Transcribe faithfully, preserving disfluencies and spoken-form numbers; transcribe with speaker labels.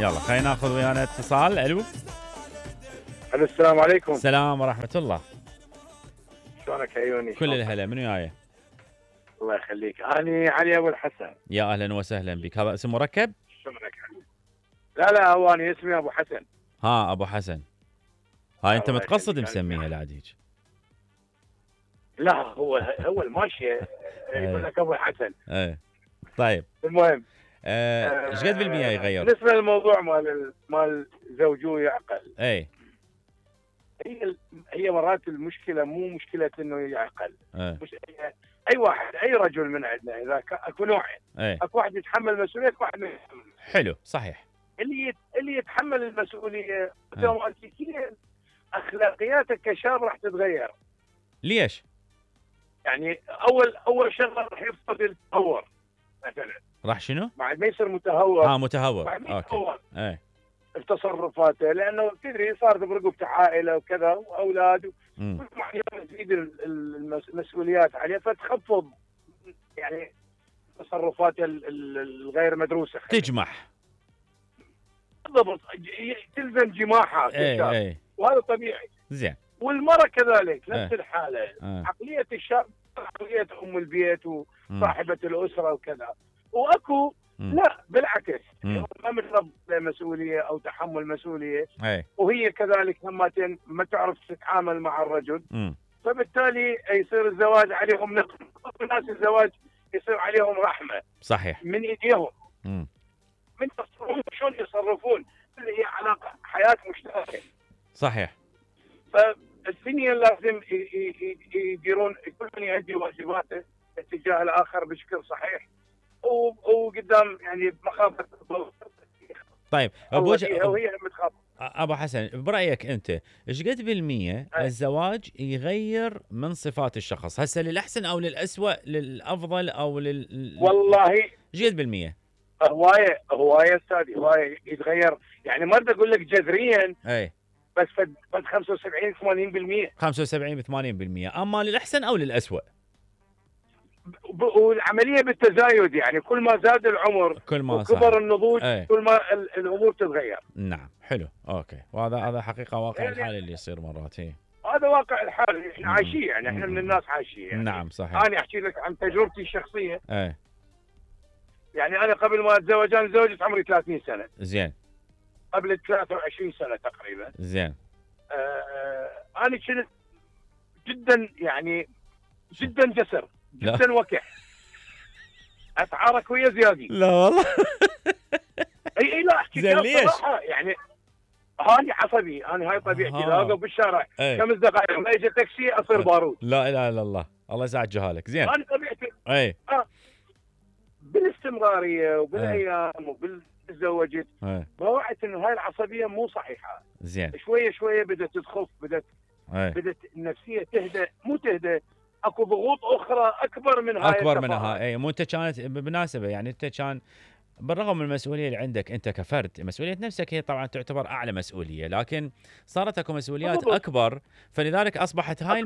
Speaker 1: يلا خلينا ناخذ ويانا اتصال. الو
Speaker 2: الو السلام عليكم.
Speaker 1: السلام ورحمة الله.
Speaker 2: شلونك عيوني؟
Speaker 1: كل الهلا، منو وياي؟
Speaker 2: الله يخليك، اني علي ابو الحسن.
Speaker 1: يا اهلا وسهلا بك. هذا اسم مركب؟
Speaker 2: شلونك علي؟ لا لا هو انا اسمي ابو حسن.
Speaker 1: ها ابو حسن. هاي انت
Speaker 2: الله
Speaker 1: متقصد
Speaker 2: يخليك.
Speaker 1: مسميها العاد هيك؟
Speaker 2: لا هو هو الماشيه يقول لك ابو الحسن.
Speaker 1: ايه طيب.
Speaker 2: المهم
Speaker 1: آه، ايش قد بالمية يغير؟
Speaker 2: بالنسبه للموضوع مال ال- مال زوجوه يعقل،
Speaker 1: اي
Speaker 2: هي هي مرات المشكله مو مشكله انه يعقل،
Speaker 1: ايه
Speaker 2: مش هي اي واحد اي رجل من عندنا اذا ك- اكو نوعين،
Speaker 1: ايه
Speaker 2: اكو واحد يتحمل مسؤوليه، اكو واحد ما يتحمل.
Speaker 1: حلو صحيح.
Speaker 2: اللي يت... اللي يتحمل المسؤوليه اوتوماتيكيا اخلاقياتك كشاب راح تتغير.
Speaker 1: ليش؟
Speaker 2: يعني اول اول شغله راح يفقد التهور مثلا،
Speaker 1: راح شنو؟
Speaker 2: بعد ما يصير متهور
Speaker 1: اه متهور.
Speaker 2: بعد ما
Speaker 1: اوكي.
Speaker 2: يتهور
Speaker 1: ايه
Speaker 2: في تصرفاته، لانه تدري صارت برقبته عائله وكذا واولاد،
Speaker 1: امم
Speaker 2: كل ما يوم تزيد ال- ال- المسؤوليات عليه فتخفض يعني تصرفاته ال- ال- الغير مدروسه.
Speaker 1: تجمح.
Speaker 2: بالضبط، ي- تلزم جماحها
Speaker 1: ايه
Speaker 2: كشاب،
Speaker 1: ايه
Speaker 2: وهذا طبيعي.
Speaker 1: زين.
Speaker 2: والمرأة كذلك نفس
Speaker 1: ايه.
Speaker 2: الحالة.
Speaker 1: آه.
Speaker 2: عقلية الشاب عقلية أم البيت
Speaker 1: مم.
Speaker 2: وصاحبة الأسرة وكذا، وأكو
Speaker 1: مم.
Speaker 2: لا بالعكس
Speaker 1: مم.
Speaker 2: ما متربى مسؤولية أو تحمل مسؤولية،
Speaker 1: ايه
Speaker 2: وهي كذلك همتين ما تعرف تتعامل مع الرجل،
Speaker 1: امم
Speaker 2: فبالتالي يصير الزواج عليهم نقم. الناس الزواج يصير عليهم رحمة
Speaker 1: صحيح.
Speaker 2: من إيديهم،
Speaker 1: امم
Speaker 2: من تصرفون شلون يتصرفون، اللي هي علاقة حياة مشتركة.
Speaker 1: صحيح.
Speaker 2: فالثنين لازم ي- ي- ي- يديرون، كل من يؤدي واجباته اتجاه الاخر بشكل صحيح، و- وقدام يعني مخافه الضغط.
Speaker 1: طيب
Speaker 2: هو
Speaker 1: بوجه
Speaker 2: هي وهي متخافه.
Speaker 1: ابو حسن، برايك انت ايش قد بالمية
Speaker 2: أي.
Speaker 1: الزواج يغير من صفات الشخص هسه للاحسن او للاسوء، للافضل او لل
Speaker 2: والله
Speaker 1: ايش قد بالمية؟
Speaker 2: هوايه هوايه استاذي، هوايه يتغير، يعني ما بدي اقول لك جذريا،
Speaker 1: اي
Speaker 2: بس فد فد خمسة وسبعين ثمانين بالمئة.
Speaker 1: خمسة وسبعين ثمانين بالمية. اما للاحسن او للاسوء؟
Speaker 2: ب- والعمليه بالتزايد، يعني كل ما زاد العمر
Speaker 1: كل ما
Speaker 2: وكبر
Speaker 1: صار.
Speaker 2: النضوج
Speaker 1: أي.
Speaker 2: كل ما ال- الامور تتغير.
Speaker 1: نعم حلو اوكي. وهذا هذا حقيقه واقع
Speaker 2: يعني-
Speaker 1: الحال اللي يصير مرات. هي
Speaker 2: هذا واقع الحال، احنا
Speaker 1: مم.
Speaker 2: عايشين، يعني احنا
Speaker 1: مم.
Speaker 2: من الناس عايشين يعني.
Speaker 1: نعم صحيح.
Speaker 2: انا احكي لك عن تجربتي الشخصيه،
Speaker 1: ايه
Speaker 2: يعني انا قبل ما اتزوج، انا تزوجت عمري ثلاثين سنه،
Speaker 1: زين
Speaker 2: قبل ثلاثة وعشرين سنه تقريبا.
Speaker 1: زين.
Speaker 2: آه آه انا كنت جدا يعني جدا جسر،
Speaker 1: لا.
Speaker 2: جدا وكح، اتعارك ويا زيادي.
Speaker 1: لا والله.
Speaker 2: اي اي لا احكي
Speaker 1: زين
Speaker 2: لك
Speaker 1: ليش؟
Speaker 2: صراحه، يعني هاني عصبي، انا هاي طبيعتي،
Speaker 1: آه.
Speaker 2: لا اوقف بالشارع
Speaker 1: ايه.
Speaker 2: خمس دقائق ما يجي تاكسي اصير بارود.
Speaker 1: لا اله الا الله، الله يسعد جهالك. زين.
Speaker 2: انا طبيعتي
Speaker 1: اي
Speaker 2: بالاستمراريه وبالايام وبالتزوجت،
Speaker 1: اي
Speaker 2: وعيت انه هاي العصبيه مو صحيحه.
Speaker 1: زين.
Speaker 2: شويه شويه بدات تخف، بدات
Speaker 1: اي
Speaker 2: بدات النفسيه تهدى، مو تهدى، اكو ضغوط اخرى اكبر من هاي
Speaker 1: اكبر
Speaker 2: التفاهات.
Speaker 1: منها. اي مو انت كانت بالمناسبه، يعني انت كان بالرغم من المسؤوليه اللي عندك انت كفرد، مسؤوليه نفسك هي طبعا تعتبر اعلى مسؤوليه، لكن صارت اكو مسؤوليات
Speaker 2: بالضبط.
Speaker 1: اكبر، فلذلك اصبحت هاي